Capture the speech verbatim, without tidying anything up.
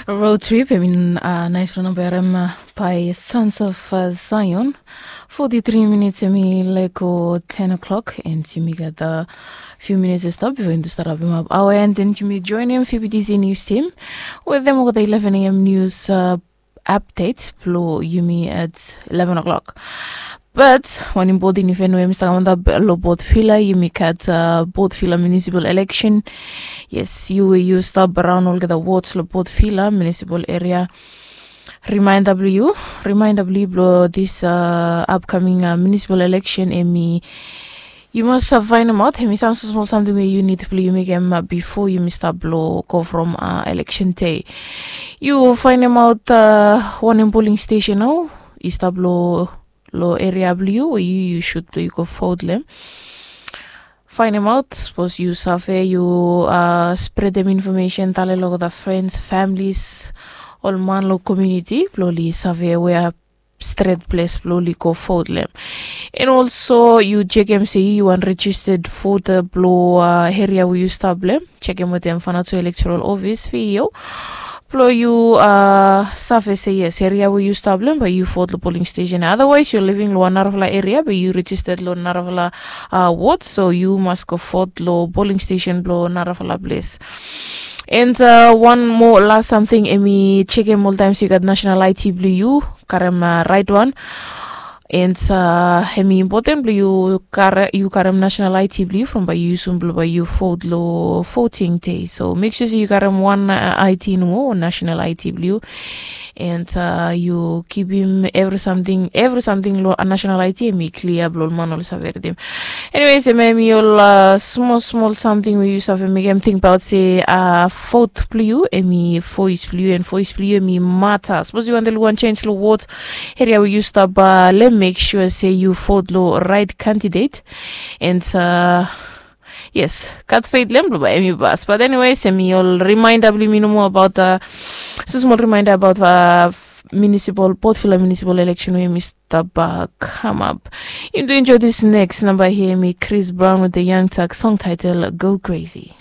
Road trip, I mean, uh, nice for number um, uh, by Sons of uh, Zion. Forty-three minutes, I mean, like oh, ten o'clock, and yumi gat a few minutes to stop before yumi start up our end, and yumi join him F B T C news team with them over the eleven a m news uh, update. Blo yumi at eleven o'clock. But wan important event we mi stap kamantap lo Port Vila, yumi gat uh, Port Vila municipal election. Yes, yu we yu stap around olgeta wards lo Port Vila municipal area. Reminder blo yu, reminder blo yu blo this uh, upcoming uh, municipal election, emi yu mas uh, find out emi some small something we yu need blo yu mekem uh, before yumi stap lo go from uh, election day. Yu find out uh, one polling station now, i stap lo lo area blo yu we yu yu should blo yu go vote lo hem. Find him out, sapos yu save yu uh, spread dem information, tale lo olgeta friends, families, ol man lo community blo oli save wea stret ples blo oli go vote lo hem. And also yu chekem se yu wan registered voter blo uh, area we yu stap lo hem. Chekem wetem Vanuatu Electoral Office, V E O, blo yu uh, save se yes, area we yu stap lo hem, bae yu vote lo polling station. Otherwise yu living lo wan narafala area, bae yu registered lo narafala uh, ward, so yu mas go vote lo polling station blo narafala ples. And uh, one more last something, emi chekem oltaem se yu gat national I D blo yu, karem uh, right one. And uh, emi important blo yu kare, yu karem national I D blo yu from bae yu yusum blo bae yu vote lo voting day. So make sure se yu karem wan uh, I D nomo, national I D blo yu. And uh, yu kipim every something, every something lo uh, national I D emi clear blo ol man oli save ridim. Anyways, emi emi ol uh, small small something we yu save mekem think about se uh, vote blo yu, emi voice blo yu, and voice blo yu emi matter. Sapos yu wantem luk wan change lo ward area we yu stap uh, lo hem, make sure se yu vote lo right candidate. And uh, yes, gat faith lo hem blo bae emi pas. But anyways, emi ol reminder blo mi nomo about uh, so small reminder about uh, municipal, Port Vila municipal election we emi stap uh, come up. Yu do enjoy this next number here, emi Chris Brown with the Young Thug song title Go Crazy.